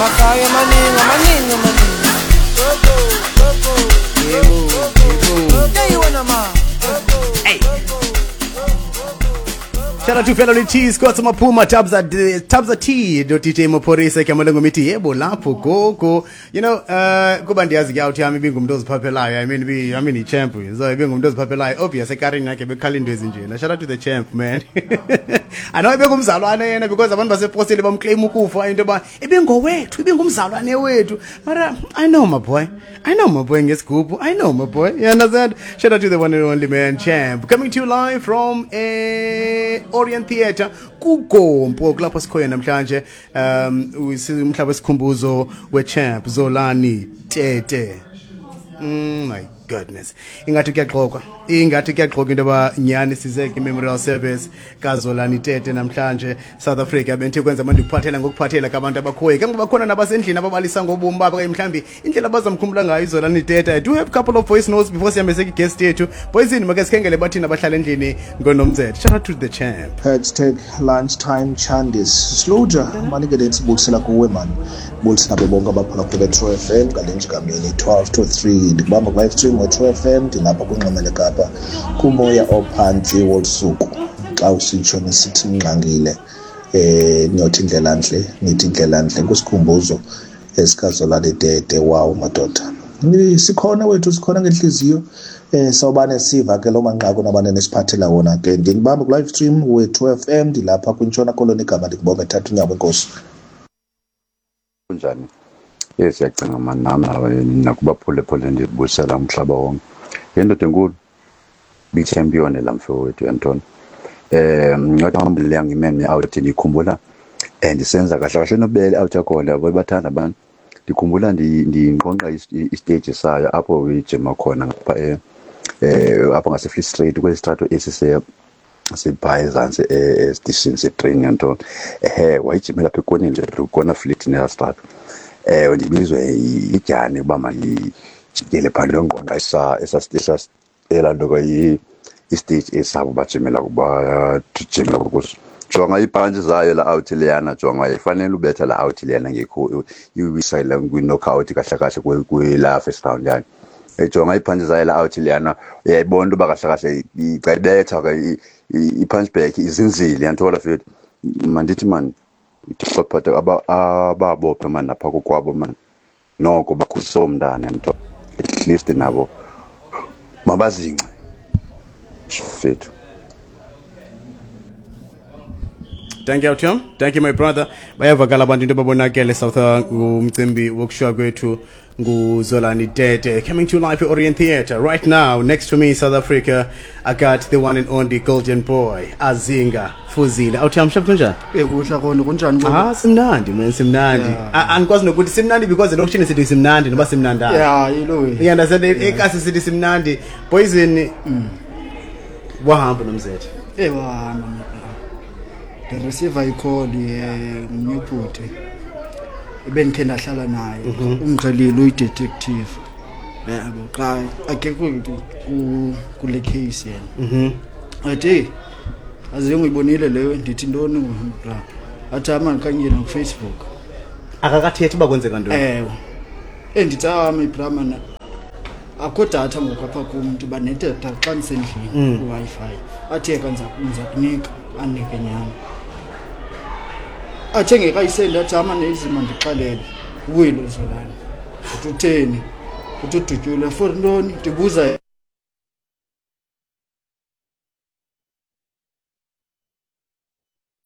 Amakhaya amaningi amaningi amaningi. Yebo, yebo. Hey wena ma. Hey. Shout out to fellow T Scott Maphuma Tabza Tabza T do DJ Maphorisa igama lengomithi yebo lapho gogo. You know, kuba ndiyazi ke out yami ibingumuntu oziphaphelayo. I mean be I mean i champ. So ibingumuntu oziphaphelayo. Obvious ekarini yakhe bekhala into ezinjena. Shout out to the champ, man. I know ibengumzalwane yena because abantu baseposile bamclaim ukufa into yoba ibingowethu, ibingumzalwane wethu. Mara I know my boy. I know my boy ngesigubhu. I know my boy. You understand? Shout out to the one and only man champ. Coming to you live from Orient Theatre kuGompo kulapho sikhoyo namhlanje, umhlaba wesikhumbuzo we-champ Zolani Tete. My goodness, ingathi kuyaxokwa, ingathi kuyaxokwa into yoba nyhani size kwi-memorial service kaZolani Tete namhlanje, South Africa. Bendithe kwenza abantu ndikuphathela ngokuphathela kabantu abakhoyo ke ngoba bakhona nabasendlini ababalisa ngobomi babo okanye mhlawumbi indlela abazamkhumbula ngayo iZolani Tete. I do have a couple of voice notes before sihambe seki-guest yethu. Poison, make sikhengele bathini abahlala endlini ngonomthetho. Shout out to the champ. #LunchtimeChandis Sluja manike lensibulisela kuwe mani, bulisa nabo bonke abaphulaphula True FM ngale njikamini 12 to 3. Ndikubamba ku-live stream we-True FM, ndilapha kwinxweme leKapa kumoya ophantsi wolusuku. Xa usitsho nisithi ningxangile, niyothi indlela ntle, nithi indlela ntle kwisikhumbuzo esikaZolani Tete. Wawu madoda, sikhona wethu, sikhona ngenhliziyo. Sawubane siva ke lo manqaku nabane nesiphathela wona ke. Ndinibamba ku-live stream we-True FM, ndilapha kwintshona Koloni. Igama ndikubonga ethatha unyawo, enkosi. Kunjani? Yes, siyacinga mani, nami nakubaphulaphule ndibuyisela umhlaba wonke. Yendoda enkulu bi-champion la mfo wethu yantoni. Ngathi hambile ngimeme out, ndikhumbula ndisenza kahle kahle nobele out yakhona yabo bathanda abantu. Ndikhumbula ndinqonqa istage sayo apho ijima khona ngapha apho ngase Free Street kwesitrato esi se sibha ezantsi esitishini setrain yantoni. Wayijimela apha ekoneni nje kona fleet neyastrato. Ndibizwe idyani uba mandijikele phaa ndiyonqonqa esa elaa nto ke istage esabo bajimela bajimela kuso. Jonga iibhantshi zayo la out leyana, jonga ifanele ubetha la out leyana ngekho iwisa la kwi-knockout kahle kahle kwela first round yayo. Jonga iiphantshi zayo la out leyana, uyayibona into yoba kahle kahle xa ibetha ke i-punch back izinzile yanthola fethu. Mandithi mani Thixo ababophe mani napha kokwabo mani, noko bakhulise umntana yantho, at least nabo mabazince fethu. Thank you, Tom. Thank you, my brother. Bayavakala abantu into babonakele South ngumcimbi wokushiywa kwethu nguZolani Tete. Coming to live at Orient Theatre right now. Next to me, South Africa, I got the one and only golden boy, Azinga Fuzile. Awuthi mshap, kunjani? Kuhle kona, kunjani? Ah, simnandi man, simnandi. Andikwazi nokuthi simnandi because elokishini sithi simnandi noba simnandanga. Yeah, yilo. You understand? Ekasi sithi simnandi. Poison, wahamba nomzethe. Wahamba. Ndireceive i-call ngumnye ebendikhe ndahlala naye, ungixelile uyi-detective yabo, xa akekho kule case yena. Athi, "Hey, azinge uyibonile leyo." Ndithi, "Ntoni bra?" Athi, "Ama ndikhangele kuFacebook." Akakathethi uba kwenzeka ntoni? Ewe, endithi ami bra mana akho datha ngoku apha kum, ndiba nedatha xa ndisendlini kwi-Wi-Fi. Athi yeka, ndiza kunika. Anike nyhani. Athe ngekayisendi, athi ama nezima ndixelele uwile uZolani. Uthi utheni? Uthi udutyulwe. For ntoni? Ndibuza.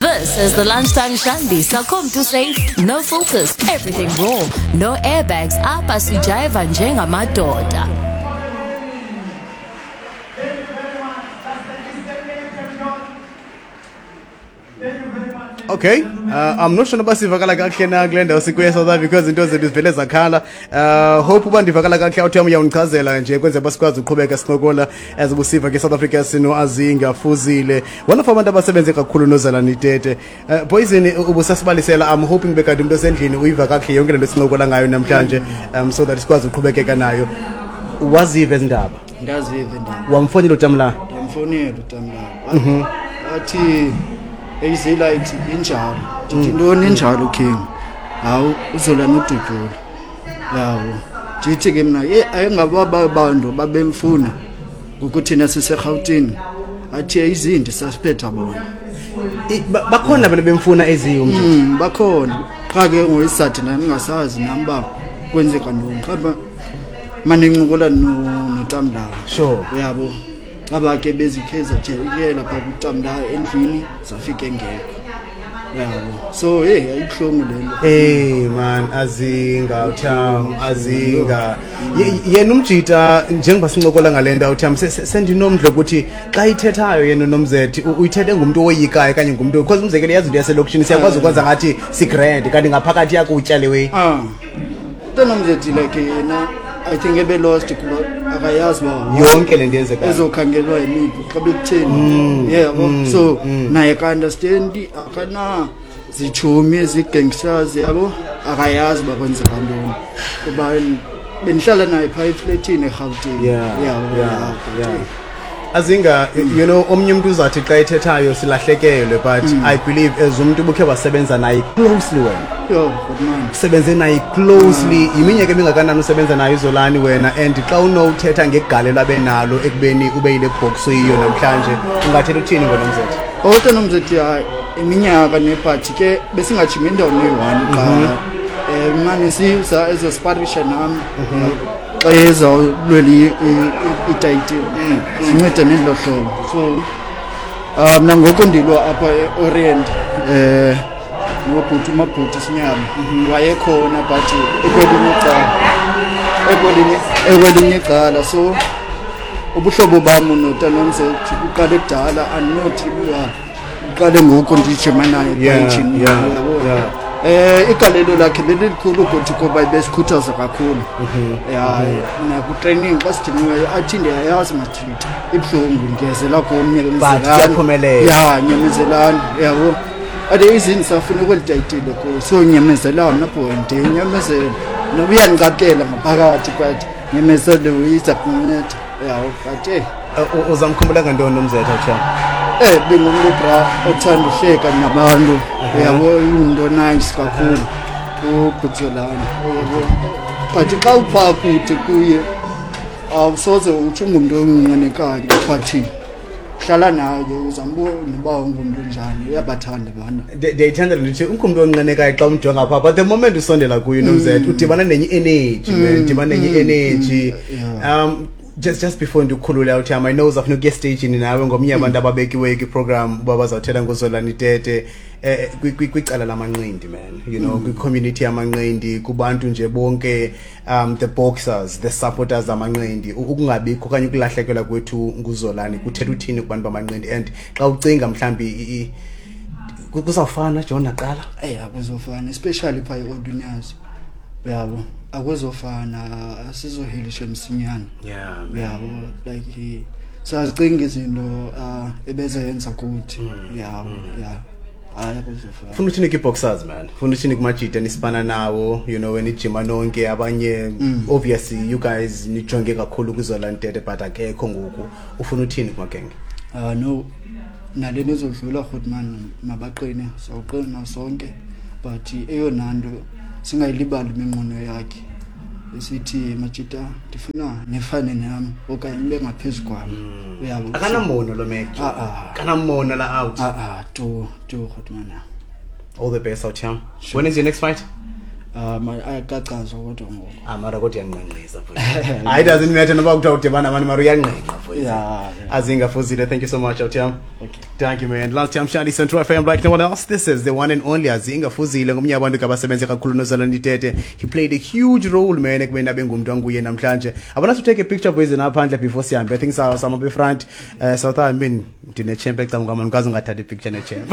This is the Lunchtime Shandy. Sakom to safe, no filters, everything raw, no airbags. Apha sijayiva njengamadoda. Okay, I'm not sure noba sivakala kakuhle na kule ndawo sikuye South Africa because into zethu zivele zakhala. Hope uba ndivakala kakuhle, awuthi uyam uyawundichazela nje kwenzela uba sikwazi uqhubeka sincokola as ubusiva ke South Africa sino Azinga Fuzile, one of abantu abasebenze kakhulu noZolani Tete. Poison, ubusasibalisela. I'm hoping bekade umuntu osendlini uyiva kakuhle yonke le nto sincokola ngayo namhlanje, so that sikwazi uqhubekeka nayo. Waziva ezi ndaba? Ndaziva indaba. Wamfonela utamla? Ndamfonela utamlala. Athi eyizelight injalo. Ndithi, "Ntoni injalo, king?" Hawu, uZolani udutyulwe, yabo. Ndithi ke mna, ye, ayingaba bantu babemfuna ngokuthina siseRhawutini, athi izindi sasiphetha bona. Bakhona abantu bemfuna eziyo umntu? Bakhona, qha ke ngoyisathi nam ndingasazi nam uba kwenzeka ntoni, xa manincokola notamlawo. Uyabo, caba ke bezikhe zajikela phaa kutamlawo endlwini, zafika engekho, uyabo. So heyi, ayibuhlungu le nto. Hey man, Azinga utham, Azinga. Yena umjita, njengoba sincokola ngale nto utham, sendinomdla ukuthi xa ithethayo yena uNomzethi, uyithethe ngumntu owoyikayo okanye ngumntu, because umzekelo yazi into yaselokishini, siyakwazi ukwenza ngathi sigrand kanti ngaphakathi yakutya le way. UNomzethi like yena I think ebe-lost kuba akayazi uba yonke le nto yenzekayo ezokhangelwa yimiphi xa bekutheni. Yebo, so naye ka-understandi, akana zitshomi ezi-gangsters, yabo, akayazi uba kwenzeka ntoni, kuba bendihlala naye phaa efletini eRhawutini. Yabo, yeah. Azinga, omnye umuntu uzathi xa ethethayo silahlekelwe, but I believe as umuntu ubukhe wasebenza naye closely wena. Yo, good man. Usebenze naye closely, yiminyaka emingakanani usebenza naye uZolani wena, and xa unowuthetha ngegalelo abe nalo ekubeni ube yile box uyiyo namhlanje, ungathetha uthini ngoNomzethi? Ota Nomzethi, hayi, iminyaka nebhathi ke besingajimi endaweni eyi-one qha. Mane siza ezosparisha nam xa ezawulwela itayitile, sincede nelo hlobo. So mna ngoku ndilwa apha e-Orient, ngobhuti uMabhuti Sinyama wayekhona, but ekwelinye icala, ekwelinye icala. So ubuhlobo bam noTanomzethi uqale kudala, andinothi uba uqale ngoku ndijima naye ejimini, yabo. Igalelo lakhe belilikhulu kuthi kuba besikhuthaza kakhulu. Ya, naku-training xa sidiniweyo athi ndiyayazi mathitha ibuhlungu, ndiyezela komnye. But kuyaphumelela. Ya, nyamezelani, yabo. Ade izini safuna ukwelitayitile kuyo, so nyamezelani apho, ndinyamezele noba uyandicapukela ngaphakathi, but nyamezele, uyiza kunceda, yabo, but Uzamkhumbula ngantoni Nomzetha utsha? Bengumntu bra othanda uhleka nabantu, uyabo, ingumntu nice kakhulu uBhutsolani, uyabo. But xa uphaa kude kuye awusoze utsho ungumntu onqwenekayo, but hlala naye uzambona uba ungumntu njani, uyabathanda abantu. Ndiyayithanda le nto uthi ungumntu onqenekayo xa umjonga phaa, but the moment usondela kuye uNomzetha udibana nenye i-energy, man, udibana nenye i-energy. Just before ndikukhulule uthi, I know uzafuna ukuya estagini nawe ngomnye abantu ababekiweyo kwiprogram uba bazawuthetha ngoZolani Tete, kwicala lamanqindi, man, kwi-community yamanqindi, kubantu nje bonke, the boxers, the supporters amanqindi, ukungabikho okanye ukulahlekelwa kwethu nguZolani kuthetha uthini kubantu bamanqindi? And xa ucinga mhlawumbi kuzawufana John naqala? Akuzofana, especially phaa e-Old Unyazi, uyabo, akuzofana, asizohelisha msinyane. Uyabo, like sazicinga izinto ebezenza kuthi, yabo, ya, hayi, akuzofana. Funa uthini kwi-boxers, man? Funa uthini kumajita nisipana nawo, wenijima nonke abanye? Obviously you guys nijonge kakhulu kuZolani Tete, but akekho ngoku. Ufuna uthini kumagenge? No, nalena izodlula, Grootman, mabaqine, sawuqina sonke, but eyona nto singayilibali iminqweno yakhe, esithi majita ndifuna nifane nami okanye nibe ngaphezu kwami, uyabo. Akanamono lo mek. Ah, ah. Akanamono la out. Ah, ah, tu tu Grootman. All the best out here. When is your next fight? Ayakachazwa kodwa ngoku. Ah, mara kodwa uyanqenqisa futhi. Hayi, it doesn't matter noba kuthiwa udibana abantu, mara uyanqenqa futhi. Yeah. Azinga Fuzile, thank you so much, Otiam. Okay. Thank you, man. Last time Shani Central FM like no one else. This is the one and only Azinga Fuzile, ngomnye abantu abasebenze kakhulu noZolani Tete. He played a huge role, man, ekubeni abe ngumntu anguye namhlanje. I want us to take a picture boys naphandle before sihambe. I think some of the front, South, I mean, ndine champ ecam kwam, andikwazi ungathatha ipicture ne-champ.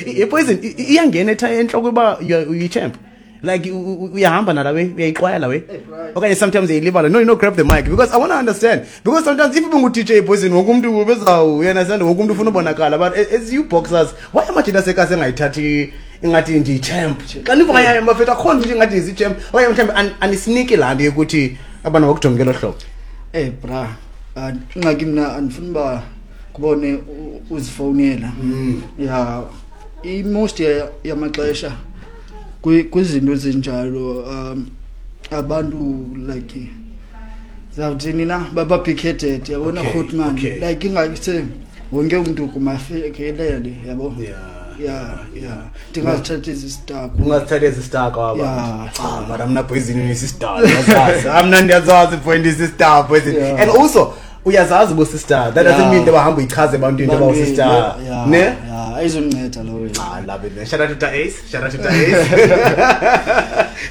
I-poison iyangena entloko uba uyi-champ. Like uyahamba nala way, uyayiqwaya la way. Okanye sometimes uyayilibala. No, grab the mic because I want to understand. Because sometimes if ubungu-DJ Poison, wonke umuntu ubezawu, you understand, wonke umuntu ufuna ubonakala. But as you boxers, why amajita asekasi engayithathi ingathi ndiyi-champ? Xa nivuka yayo bafethu, akho nto ingathi ndiyi-champ. Okanye mhlawumbi anisiniki laa nto yokuthi abantu bakujonge ngelo hlobo. Bra, ingxaki mna andifuni uba kubone uzifowunela. Ya, i-most yamaxesha Kwizinto ezinjalo abantu like zawuthini na baba-big-headed, yabona. Grootman, like ingase wonke umntu kumafikelele, yabo. Yeah, ndingazithathi ezi-star. Ungazithatha ezi-star kwaba. Yeah. Ah, mara mna Poison ndisi-star, ndiyazazi. Mna ndiyazazi point ndisi-star Poison. And also uyazazi uba usi-star, that doesn't mean into yoba hamba uyichaze ebantwini into yoba usi-star, ne? Yeah, ayizonceda lowo. I love it, man. Shout out to Ace. Shout out to Ace.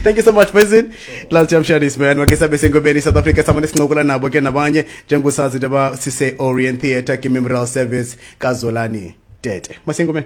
Thank you so much, Poison. Last time share this, man. Make sabe sengobeni South Africa samane sincokola nabo ke nabanye njengosazi into yoba sise Orient Theatre ke memorial service kaZolani Tete. Masengomeni.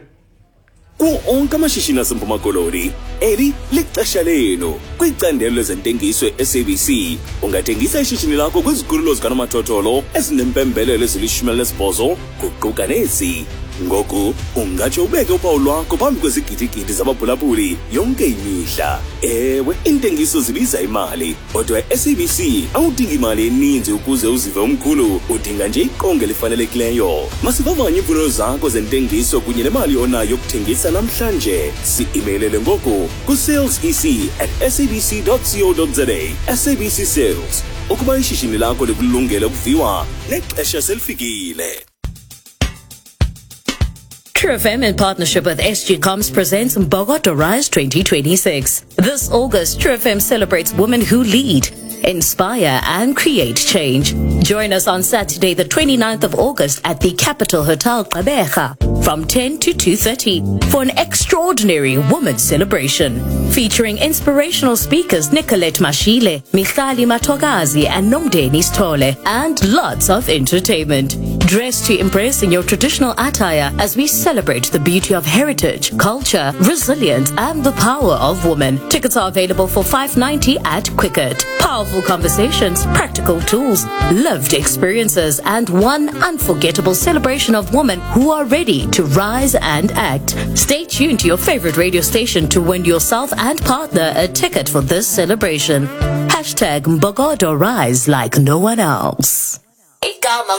Kuwo onke amashishini aseMpuma Koloni, eli lixesha lenu. Kwicandelo lezentengiso e-SABC, ungathengisa ishishini lakho kwizikhululo zikanomathotholo ezinempembelelo ezili-18, kuquka nezi. Ngoku ungatsho ubeke uphawu lwakho phambi kwezigidigidi zabaphulaphuli yonke imihla. Ewe, iintengiso zibiza imali, kodwa e-SABC awudingi imali eninzi ukuze uzive umkhulu, udinga nje iqonga elifanelekileyo. Masivavanye iimfuno zakho zentengiso kunye nemali onayo yokuthengisa namhlanje. Si-imeyilele ngoku ku-salesec@sabc.co.za. SABC Sales, ukuba ishishini lakho likulungele ukuviwa, nexesha selifikile. True FM in partnership with SG Comms presents Mbokodo Rise 2026. This August, True FM celebrates women who lead, inspire and create change. Join us on Saturday, the 29th of August at the Capital Hotel Gqeberha from 10 to 2:30 for an extraordinary women's celebration featuring inspirational speakers Nicolette Mashile, Michali Matogazi and Nomdeni Stole, and lots of entertainment. Dress to impress in your traditional attire as we celebrate the beauty of heritage, culture, resilience and the power of women. Tickets are available for 590 at Quicket. Powerful conversations, practical tools, lived experiences and one unforgettable celebration of women who are ready to rise and act. Stay tuned to your favorite radio station to win yourself and partner a ticket for this celebration. #MbokodoRise like no one else.